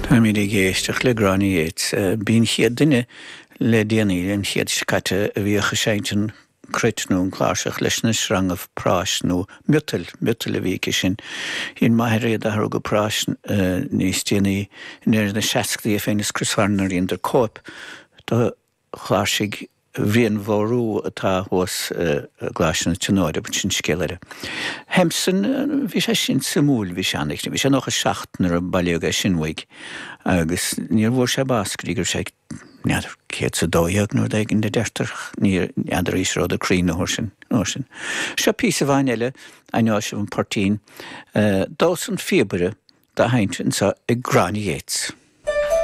Táimid ag éisteacht le Gráinne Yeates. B'í an chéad duine le déanaí, an chéad seo caite, a bhíodh ag seinnt an cruit nó an cláirseach leis na sreangaibh práis nó miotail, miotail a bhí aici sin. Dhein m'athair iad a athrú go práis níos déanaí i ndeireadh na seascadaí é féin is Chris Farren nuair a dheineadar cóip de chláirsigh Bhriain Bhórú atá thuas i gColáiste na Tríonóide, but sin scéal eile. Hempson, bhí sé sin suimiúil, bhí sé an-, bhí sé 97 nuair a bailíodh é sin uaidh agus níor bhfuair sé bás go dtí go raibh sé, n'fheadar, 112 nó rud éigin a deirtear, n'fheadar arís an rabhadar cruinn an uair sin, an uair sin. Seo píosa amháin eile, aithneoidh sibh an poirtín, Damhsa an Phíobaire dá sheinnt anseo ag Gráinne Yeates.